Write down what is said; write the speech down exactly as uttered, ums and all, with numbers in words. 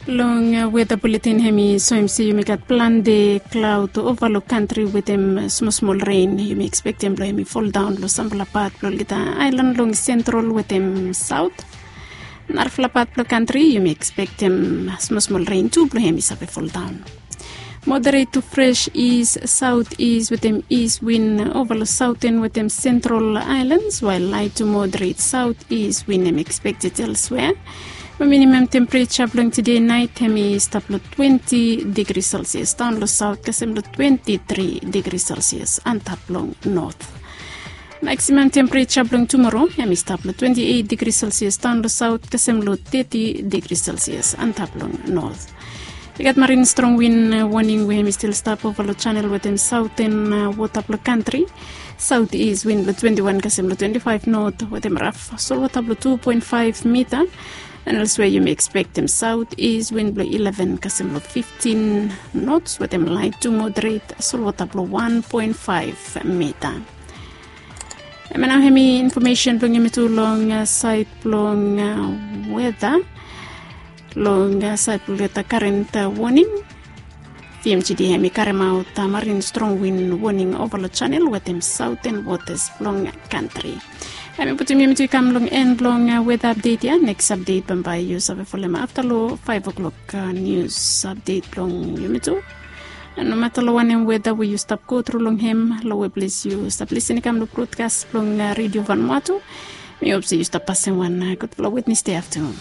Long weta buletin hem i soem se yumi gat plante klaod ova long kantri wetem smosmol ren yumi ekspektem blong hem i foldaon long sampela pat blong olgeta aelan long sentrol wetem saot. Narafala pat blong kantri yumi ekspektem smosmol ren tu blong hem i save foldaon. Moderet tu fres is saot is wetem is win ova long saoten wetem sentrol aelans wael lait tu moderet saot is win hem ekspekted elswea. Minimam tempereja blong tide nait hem i stap long twenti digri selsias daon long saot kasem long twenti tri digri selsias antap long not. Maksimam tempereja blong tumoro hem i stap long twenti eit digri selsias daon long saot kasem long teti digri selsias antap long not. I gat marin strong win woning we hem i stil stap ova long chanel wetem saoten wota blong kantri. Saot is win blong twenti wan kasem long twenti faef not wetem raf solwota blong tu poen faef mita. An elswea yumi ekspektem saot is win blong ileven kasem long fiftin nots wetem lait tu moderet solwota blong wan poen faef mita. Em ya nao hem i infomesen blong yumi tu long sait blong weta. Long sait blong weta karen woning. Fim tidi hem i karemaot marin strong win woning ova long chanel wetem saoten wotas blong kantri. Hem i putum yumi tu i kam long en blong weta apdet ya. Neks apdet bambae yu save folem afta long faef o'klok nius apdet blong yumi tu. Nomata long wanem weta we yu stap gotru long hem long we ples yu stap lisin i kam long brotkas blong redio vanwatu. Mi hop se yu stap pasem wan gudfala witnes de aftanun.